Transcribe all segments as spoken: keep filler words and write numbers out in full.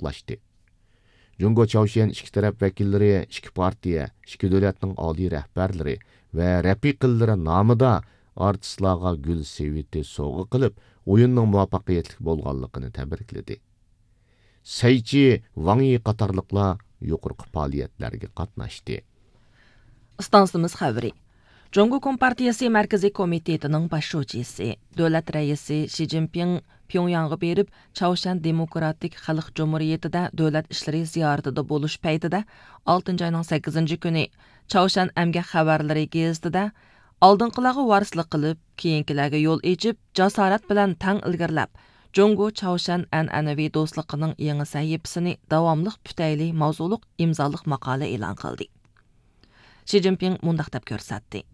قۇتلۇقلاشتى. جۇڭگو چاۋشيەن ئىككى تەرەپ ۋەكىللىرى ئىككى پارتىيە، ئىككى دۆلەتنىڭ ئالىي رەھبەرلىرى ۋە رەپىقىلىرى نامىدا ئارتىسلارغا گۈل سېۋىتى سوۋغا قىلىپ، ئويۇننىڭ مۇۋەپپەقىيەتلىك بولغانلىقىنى تەبرىكلىدى. سەيچى، ۋاڭ يى قاتارلىقلار يۇقىرىقى پائالىيەتلەرگە قاتناشتى. ئىستانسىمىز خەۋىرى. جۇڭگو كومپارتىيىسى مەركىزىي كومىتېتىنىڭ باش شۇجىسى، دۆلەت رەئىسى شى جىنپىڭ پيۇڭياڭغا بېرىپ، چاۋشيەن دېموكراتىك خەلق جۇمھۇرىيىتىدە دۆلەت ئىشلىرى زىيارىتىدە بولۇش پەيتىدە، ئالتىنچى ئاينىڭ سەككىزىنچى كۈنى چاۋشيەن ئەمگەك خەۋەرلىرى گېزىتىدە، ئالدىنقىلارغا ۋارىسلىق قىلىپ، كېيىنكىلەرگە يول ئېچىپ، جاسارەت بىلەن تەڭ ئىلگىرىلەپ، جۇڭگو چاۋشيەن ئەنئەنىۋى دوستلۇقىنىڭ يېڭى سەھىپىسىنى داۋاملىق پۈتەيلى ماۋزۇلۇق ئىمزالىق ماقالە ئېلان قىلدى. شى جىنپىڭ مۇنداق دەپ كۆرسەتتى: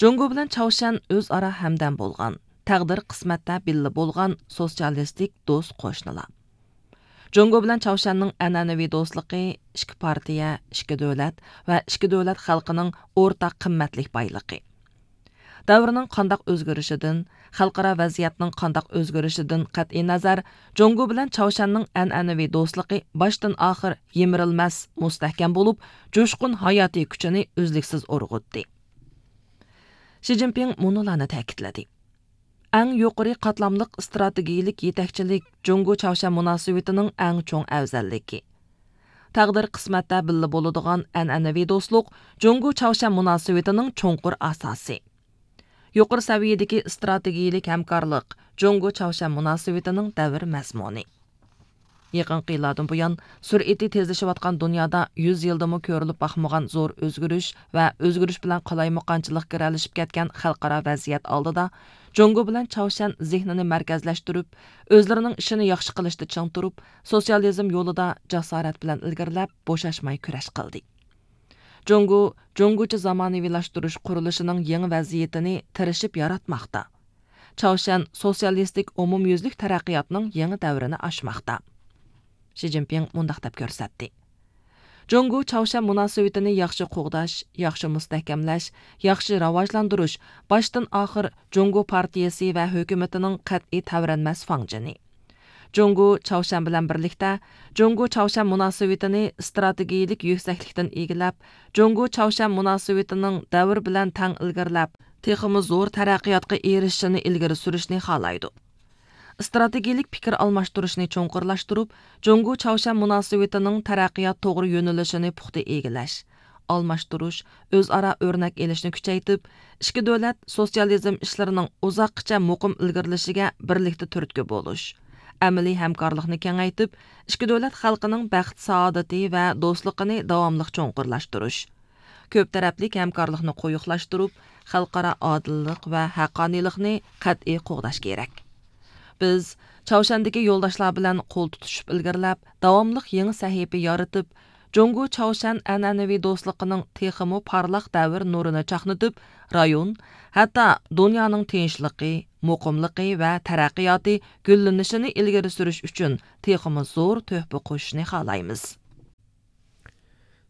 جۇڭگو بىلەن چاۋشيەن ئۆزئارا ھەمدەم بولغان، تەقدىر قىسمەتتە بىللە بولغان سوتسىيالىستىك دوست قوشنىلار. جۇڭگو بىلەن چاۋشيەننىڭ ئەنئەنىۋى دوستلۇقى ئىككى پارتىيە، ئىككى دۆلەت ۋە ئىككى دۆلەت خەلقىنىڭ ئورتاق قىممەتلىك بايلىقى. دەۋرنىڭ قانداق ئۆزگىرىشىدىن، خەلقئارا ۋەزىيەتنىڭ قانداق ئۆزگىرىشىدىن قەتئىينەزەر، جۇڭگو بىلەن چاۋشيەننىڭ ئەنئەنىۋى دوستلۇقى باشتىن ئاخىر يىمىرىلمەس، مۇستەھكەم بولۇپ، جۇشقۇن ھاياتىي كۈچىنى ئۈزلۈكسىز ئۇرغۇتتى. شى جىنپىڭ مۇنۇلارنى تەكىتلىدى: ئەڭ يۇقىرى قاتلاملىق ئىستراتېگىيىلىك يېتەكچىلىك جۇڭگو چاۋشيەن مۇناسىۋىتىنىڭ ئەڭ چوڭ ئەۋزەللىكى. تەقدىر قىسمەتتە بىللە بولىدىغان ئەنئەنىۋى دوستلۇق جۇڭگو چاۋشيەن مۇناسىۋىتىنىڭ چوڭقۇر ئاساسى. يۇقىرى سەۋىيەدىكى ئىستراتېگىيىلىك ھەمكارلىق جۇڭگو چاۋشيەن مۇناسىۋىتىنىڭ دەۋر مەزمۇنى. يېقىنقى يىللاردىن بۇيان، سۈرئىتى تېزلىشىۋاتقان دۇنيادا يۈز يىلدىمۇ كۆرۈلۈپ باقمىغان زور ئۆزگىرىش ۋە ئۆزگىرىش بىلەن قالايمىقانچىلىق گىرەلىشىپ كەتكەن خەلقئارا ۋەزىيەت ئالدىدا، جۇڭگو بىلەن چاۋشيەن زېھنىنى مەركەزلەشتۈرۈپ، ئۆزلىرىنىڭ ئىشىنى ياخشى قىلىشتا چىڭ تۇرۇپ، سوتسىيالىزم يولىدا جاسارەت بىلەن ئىلگىرىلەپ، بوشاشماي كۈرەش قىلدى. جۇڭگو جۇڭگوچە زامانىۋىلاشتۇرۇش قۇرۇلۇشىنىڭ يېڭى ۋەزىيىتىنى تىرىشىپ ياراتماقتا. چاۋشيەن سوتسىيالىستىك ئومۇميۈزلۈك تەرەققىياتنىڭ يېڭى دەۋرىنى ئاچماقتا. شى جىنپىڭ مۇنداق دەپ كۆرسەتتى: جۇڭگو چاۋشيەن مۇناسىۋىتىنى ياخشى قوغداش، ياخشى مۇستەھكەملەش، ياخشى راۋاجلاندۇرۇش باشتىن ئاخىر جۇڭگو پارتىيىسى ۋە ھۆكۈمىتىنىڭ قەتئىي تەۋرەنمەس فاڭجېنى. جۇڭگو چاۋشيەن بىلەن بىرلىكتە، جۇڭگو چاۋشيەن مۇناسىۋىتىنى ئىستراتېگىيىلىك يۈكسەكلىكتىن ئىگىلەپ، جۇڭگو چاۋشيەن مۇناسىۋىتىنىڭ دەۋر بىلەن تەڭ ئىلگىرىلەپ، تېخىمۇ زور تەرەققىياتقا ئېرىشىشىنى ئىلگىرى سۈرۈشنى خالايدۇ. ئىستراتېگىيىلىك پىكىر ئالماشتۇرۇشنى چوڭقۇرلاشتۇرۇپ، جۇڭگو چاۋشيەن مۇناسىۋىتىنىڭ تەرەققىيات توغرا يۆنىلىشىنى پۇختا ئىگىلەش، ئالماشتۇرۇش، ئۆزئارا ئۆرنەك ئېلىشنى كۈچەيتىپ، ئىككى دۆلەت سوتسىيالىزم ئىشلىرىنىڭ ئۇزاققىچە مۇقىم ئىلگىرىلىشىگە بىرلىكتە تۈرتكە بولۇش، ئەمەلىي ھەمكارلىقنى كېڭەيتىپ، ئىككى دۆلەت خەلقىنىڭ بەخت-سائادىتى ۋە دوستلۇقىنى داۋاملىق چوڭقۇرلاشتۇرۇش، كۆپ تەرەپلىك ھەمكارلىقنى قويۇقلاشتۇرۇپ، خەلقئارا ئادىللىق ۋە ھەققانىيلىقنى قەتئىي قوغداش كېرەك. بىز چاۋشيەندىكى يولداشلار بىلەن قول تۇتۇشۇپ ئىلگىرىلەپ، داۋاملىق يېڭى سەھىپە يارىتىپ، جۇڭگو چاۋشيەن ئەنئەنىۋى دوستلۇقىنىڭ تېخىمۇ پارلاق دەۋر نۇرىنى چاقنىتىپ، رايون، ھەتتا دۇنيانىڭ تىنچلىقى، مۇقىملىقى ۋە تەرەققىياتى گۈللىنىشىنى ئىلگىرى سۈرۈش ئۈچۈن تېخىمۇ زور تۆھپە قوشۇشنى خالايمىز.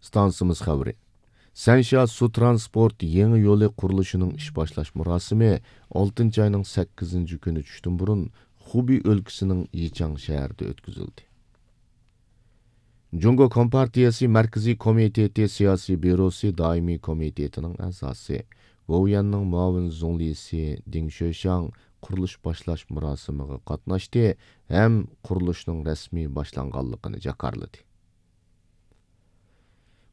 ئىستانسىمىز خەۋىرى. سەنشيا سۇ ترانسپورت يېڭى يولى قۇرۇلۇشىنىڭ ئىش باشلاش مۇراسىمى ئالتىنچى ئاينىڭ سەككىزىنچى كۈنى چۈشتىن بۇرۇن خۇبېي ئۆلكىسىنىڭ يىچاڭ شەھىرىدە ئۆتكۈزۈلدى. جۇڭگو كومپارتىيىسى مەركىزىي كومىتېتى سىياسىي بيۇروسى دائىمىي كومىتېتىنىڭ ئەزاسى، گوۋۇيۈەننىڭ مۇئاۋىن زۇڭلىسى دىڭ شۆشياڭ قۇرۇلۇش باشلاش مۇراسىمىغا قاتناشتى ھەم قۇرۇلۇشنىڭ رەسمىي باشلانغانلىقىنى جاكارلىدى.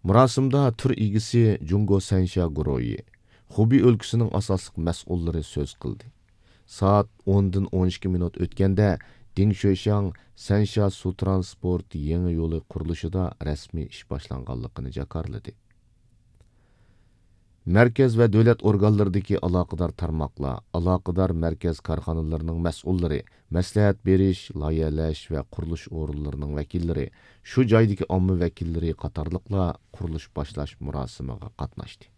مۇراسىمدا تۈر ئىگىسى جۇڭگو سەنشيا گۇرۇھى، خۇبېي ئۆلكىسىنىڭ ئاساسلىق مەسئۇللىرى سۆز قىلدى. سائەت ئوندىن ئون ئىككى مىنۇت ئۆتكەندە، دىڭ شۆشياڭ سەنشيا سۇ ترانسپورت يېڭى يولى قۇرۇلۇشىدا رەسمىي ئىش باشلانغانلىقىنى جاكارلىدى. مەركەز ۋە دۆلەت ئورگانلىرىدىكى ئالاقىدار تارماقلار، ئالاقىدار مەركەز كارخانىلىرىنىڭ مەسئۇللىرى، مەسلىھەت بېرىش، لايىھەلەش ۋە قۇرۇلۇش ئورۇنلىرىنىڭ ۋەكىللىرى، شۇ جايدىكى ئامما ۋەكىللىرى قاتارلىقلار قۇرۇلۇش باشلاش مۇراسىمىغا قاتناشتى.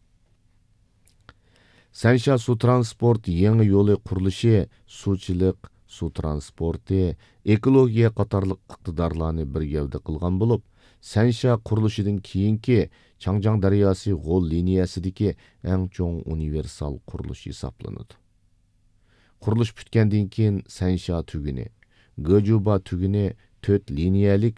سەنشيا سۇ ترانسپورت يېڭى يولى قۇرۇلۇشى سۇچىلىق، سۇ ترانسپورتى، ئېكولوگىيە قاتارلىق ئىقتىدارلارنى بىر گەۋدە قىلغان بولۇپ، سەنشيا قۇرۇلۇشىدىن كېيىنكى چاڭجياڭ دەرياسى غول لىنىيەسىدىكى ئەڭ چوڭ ئۇنىۋېرسال قۇرۇلۇش ھېسابلىنىدۇ. قۇرۇلۇش پۈتكەندىن كېيىن، سەنشيا تۈگۈنى، گېجۇبا تۈگۈنى تۆت لىنىيەلىك